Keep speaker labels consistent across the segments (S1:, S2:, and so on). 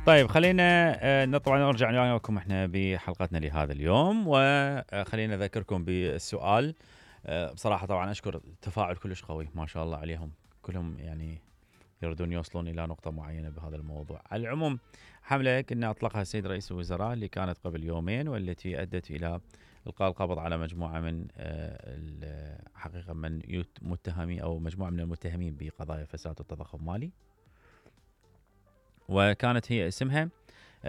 S1: طيب خلينا طبعا نرجع وياكم احنا بحلقتنا لهذا اليوم، وخلينا اذكركم بالسؤال. بصراحه طبعا اشكر تفاعل كلش قوي ما شاء الله عليهم، كلهم يعني يريدون يوصلون الى نقطه معينه بهذا الموضوع. على العموم حمله كنا اطلقها السيد رئيس الوزراء اللي كانت قبل يومين، والتي ادت الى القاء القبض على مجموعه من حقيقه من متهمين او مجموعه من المتهمين بقضايا فساد والتضخم المالي، وكانت هي اسمها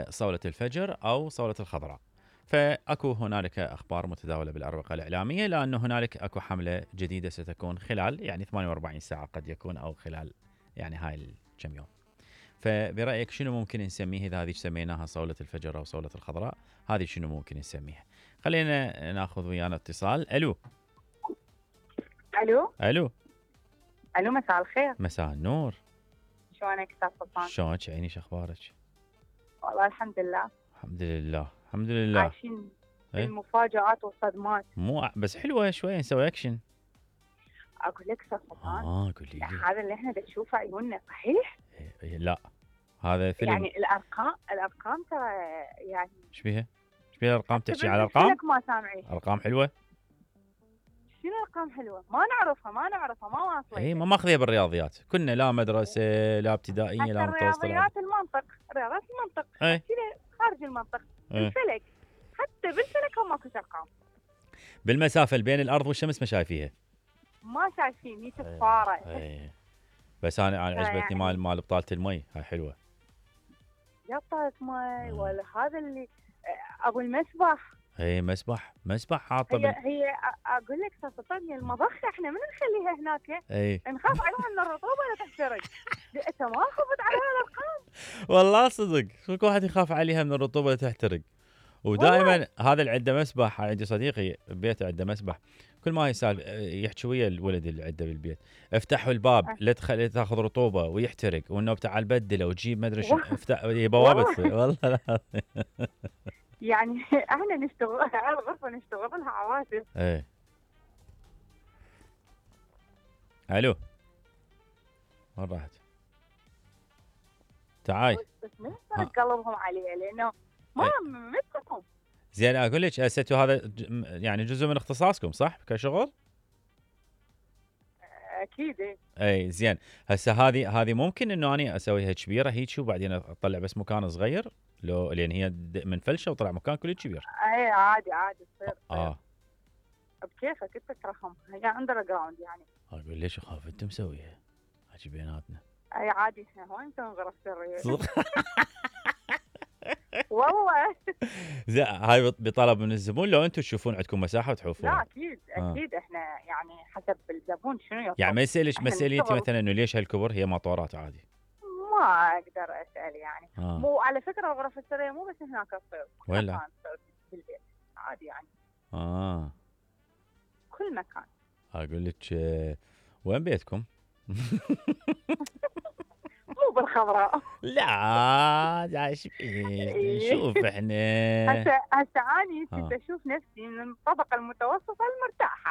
S1: صولة الفجر أو صولة الخضراء. فأكو هنالك أخبار متداولة بالأروقة الإعلامية، لأنه هنالك أكو حملة جديدة ستكون خلال يعني 48 ساعة قد يكون، أو خلال يعني هاي الكم يوم. فبرأيك شنو ممكن نسميه إذا هذه سميناها صولة الفجر أو صولة الخضراء؟ هذه شنو ممكن نسميها؟ خلينا ناخذ ويانا اتصال. ألو
S2: الو
S1: ألو
S2: الو، مساء الخير.
S1: مساء النور.
S2: شلونك استاذ سلطان؟
S1: شلونك عيني، شخبارك؟
S2: والله الحمد لله.
S1: الحمد لله الحمد لله.
S2: عايشين المفاجآت والصدمات.
S1: مو بس حلوة شوية نسوي أكشن.
S2: اقول لك استاذ سلطان،
S1: قولي لي.
S2: هذا اللي احنا نشوفه عيوننا صحيح؟
S1: لا هذا فيلم.
S2: يعني الارقام ترى يعني
S1: ايش بيها؟ ايش بيها الارقام؟ تحكي على الارقام؟
S2: ما سامعين.
S1: ارقام حلوه؟
S2: شنو ارقام حلوه؟ ما نعرفها ما واصله.
S1: اي ما ماخذيها بالرياضيات، كنا لا مدرسه لا ابتدائيه لا متوسطه.
S2: رياضيات المنطق خارج المنطق. الفلك حتى بالفلك هم ماكو ارقام.
S1: بالمسافه بين الارض والشمس ما شايفيها؟
S2: ما شايفين، هي صفاره.
S1: بس انا عجبتني يعني مال بطاله المي، هاي حلوه.
S2: يا بطاله مي ولا هذا اللي ابو المسبح.
S1: اي مسبح حاطه
S2: هي اقول لك سلطان، هي المضخه احنا من نخليها هناك؟ نخاف عليها من الرطوبه لا تحترق. انت ما خفت على هالارقام؟
S1: والله صدق كل واحد يخاف عليها من الرطوبه لا تحترق. ودائما هذا اللي عنده مسبح، عندي صديقي ببيته عنده مسبح، كل ما يسال يحكي ويا الولد اللي عنده بالبيت، افتحوا الباب لا تاخذ رطوبه ويحترق، والنوب تعال بدله وتجيب ما ادري شو، افتح بوابه والله لا.
S2: يعني احنا نشتغل على الغرفه نشتغل لها عواتف.
S1: ايه الو وين راحت؟ تعاي
S2: بس من قلبهم عليه لانه ما مثلكم.
S1: زين اقول لك هسه هذا يعني جزء من اختصاصكم صح كشغل؟
S2: اكيد.
S1: اي زين. هسه هذه ممكن انه انا اسويها كبيره هيك وبعدين اطلع بس مكان صغير، لو لان هي من فلشه وطلع مكان كله كبير.
S2: اي عادي تصير. بكيفك انت ترحم، هي اندر جراوند يعني.
S1: اقول ليش اخاف انت مسويها حكي بيناتنا.
S2: اي عادي احنا هون نسوي غرف سريه. والله.
S1: زين هاي بطلب من الزبون، لو انتم تشوفون عندكم مساحه وتحوفوها؟
S2: لا اكيد احنا يعني حسب الزبون شنو يطلب.
S1: يعني ما يسالش انت مثلا انه ليش هالكبر، هي مطورات عادي.
S2: ما اقدر اسال يعني. مو على فكره الغرف السريه مو بس هناك تصير،
S1: ولا
S2: بالبيت عادي يعني. كل مكان.
S1: اقول لك وين بيتكم؟
S2: مو بالخضراء.
S1: لا شوف احنا
S2: هسه اني كنت اشوف نفسي من الطبقه المتوسطه المرتاحه.